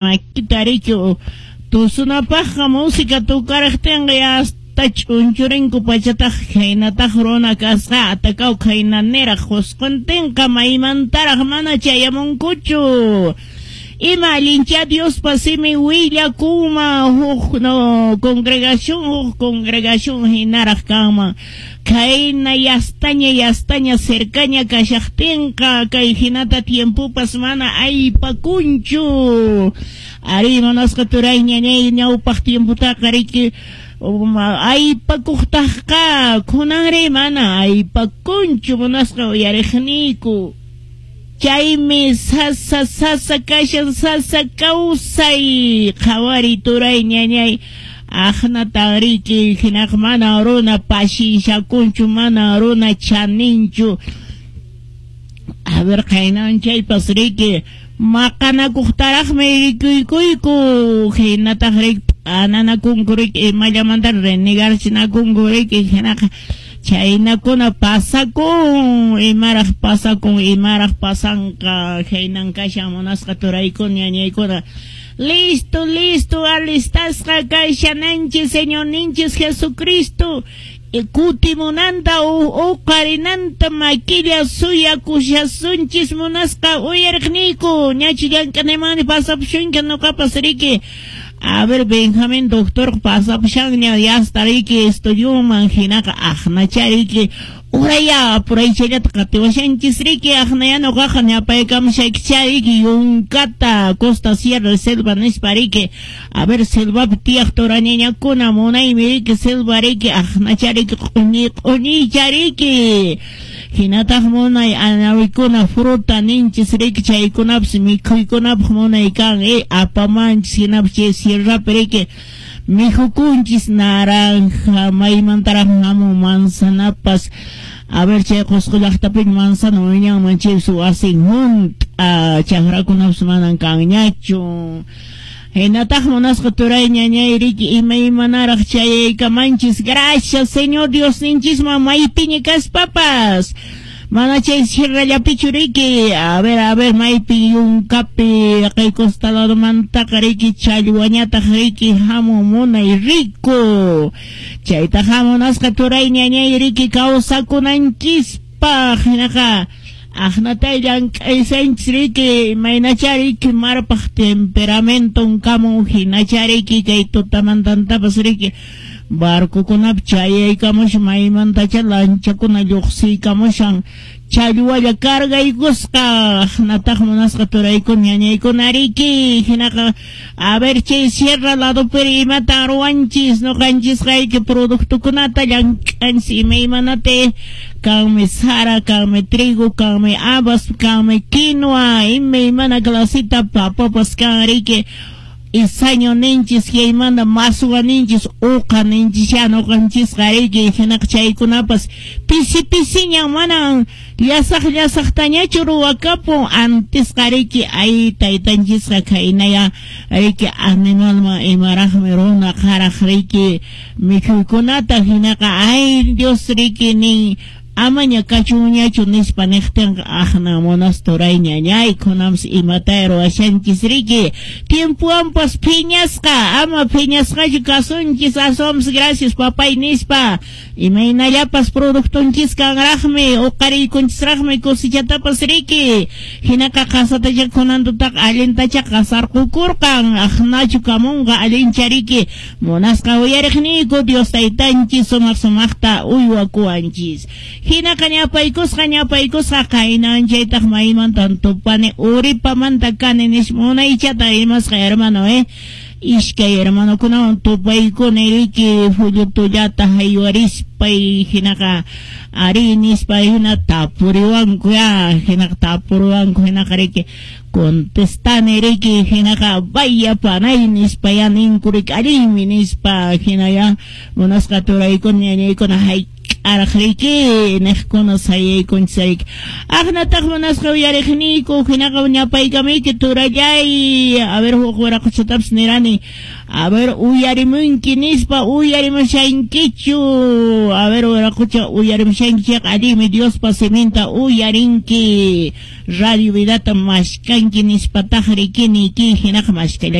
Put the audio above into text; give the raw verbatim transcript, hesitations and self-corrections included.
Makita riki tusunapaqqa música tukaraqtinqa hasta ch'unchurinku pachataq khaynataq runa kasqa atakaw khayna niraq qusquntinqa maymantaraq mana chayamunkuchu. Ima allincha Diospa simin willakunman huk no congregación huk congregación hinaraq kanman khayna yastaña yastaña cercaña kashaqtinqa kay hinata tiempopas mana aypakunchu. Ari munasqa turay ñañay ñawpaq tiempotaqa riki aypakuqtaqqa kunanri mana aypakunchu munasqa uyariqniyku. Chaymi sasa sasa kashan sasa kawsay qhawari turay ñañay aqnatan riki hinaq mana runa pashishakunchu mana runa chaninchu. A ver khaynan chaypas riki maqanakuqtaraqmi rikuykuyku hinataq riki p'ananakunku riki imallamanta renegarchinakunku riki hinaqa chaynakuna pasakun imaraq pasakun imaraq pasanqa khaynan kashan munasqa turaykuna ñañaykuna. Listo, listo, alistasqa kashananchis Señorninchis Jesucristo kutimunanta uqarinanta makilla suyakushasunchis munasqa uyariqniyku ñachu llank'anaymanmi pasapushunki nuqapas riki. A ver, Benjamín doctor pasapushanña yasta riki estudioman hinaqa aqnacha riki uraya apuraychallata qatiwashanchis riki aqnaya nuqaqa ñapaykamushaykicha riki yunkata costa sierra selva nispa riki. A ver, selvapi tiyaq turañañakuna munaymi riki selva riki aqnacha riki q'uñi q'uñiycha riki hinataq munay anawikuna fruta ninchis riki chaykunapas mikhuykunapaq munay kan eh apamanchis hinapas chay sierrapi riki mikhukunchis naranja maymantaraq hamun manzanapas. A ver, chay Qusqu llaqtapi manzana wiñanman chaypas wasin hunt'a chakrakunapas manan kanñachu. Hinataq munasqa turay ñañay riki imaymanaraq chayaykamanchis. Gracias Señor Diosninchisman maypiña kaspapas mana chay sierrallapichu riki. A ver, a ver, maypi yunkapi kay costaladomantaqa riki challwañataq riki hamun munay rico chaytaq hamunasqa turay ñañay riki kawsakunanchispaq hinaqa aqnatay llank'aysanchis riki imaynacha riki marpaq temperamenton kamun hinacha riki kay tutamantantapas riki barcokunapi chayaykamushan maymantacha lanchakuna lluqsiykamushan challwalla cargaykusqa aqnataq munasqa turaykuna ñañaykuna riki hinaqa a ver chay sierra ladopiri imatan ruwanchis nuqanchisqa riki productokunata llank'anchis imaymanata kanmi sara kanmi trigo kanmi habas kanmi quinoa imaymana clasita papapas kan riki isaño ninchis chaymanta maswa ninchis uqa ninchisya nuqanchisqa riki hinaqa chaykunapas pisi pisiñan manan llasaq llasaqtañachu ruwakapun antisqa riki ay taytanchisqa khaynaya riki animalman imaraqmi runa qaraq riki mikhuykunata hinaqa ay Dios riki nin amaña kachunñachu nispa niqtinqa aqna munas turay ñañay kunampas imata ruwashanchis riki tiempowanpas phiñasqa ama phiñasqachu kasunchis aswanpas gracias papay nispa imaynallapas productonchis kanraqmi uqariykunchisraqmi cosechatapas riki hinaqa qasatacha kunantutaqa allintacha qasarqukurqan aqnachu kamunqa allincha riki munasqa uyariqniyku Dios taytanchis sumaq sumaqta uywakuwanchis. Hinaqa ñapaykusqa ñapaykusqa qaynan chaytaq maymantan tupani uripamanta kani nispa munaychata rimasqa hermano eh iskay hermanokunawan tupaykuni riki fullutullata haywarispay hinaqa ari nispa hina tapuriwanku ya hinaqa tapuriwanku hinaqa riki contestani riki hinaqa vaya panay nispa ya ninku riki allinmi nispa hinaya munasqa turaykuna ñañaykuna hay K'araq riki niqkuna sayaykunchis riki. Aqnataq munasqa uyariqniyku hinaqa ñapaykamuyki turallay, a ver huk wiraquchatapas nirani, a ver uyarimunki nispa, uyarimushankichu, a ver wiraqucha uyarimushanki chayqa allinmi Diospa siminta uyarinki, Radio Vidata mashkanki nispataq riki niyki hinaqa mashkalla.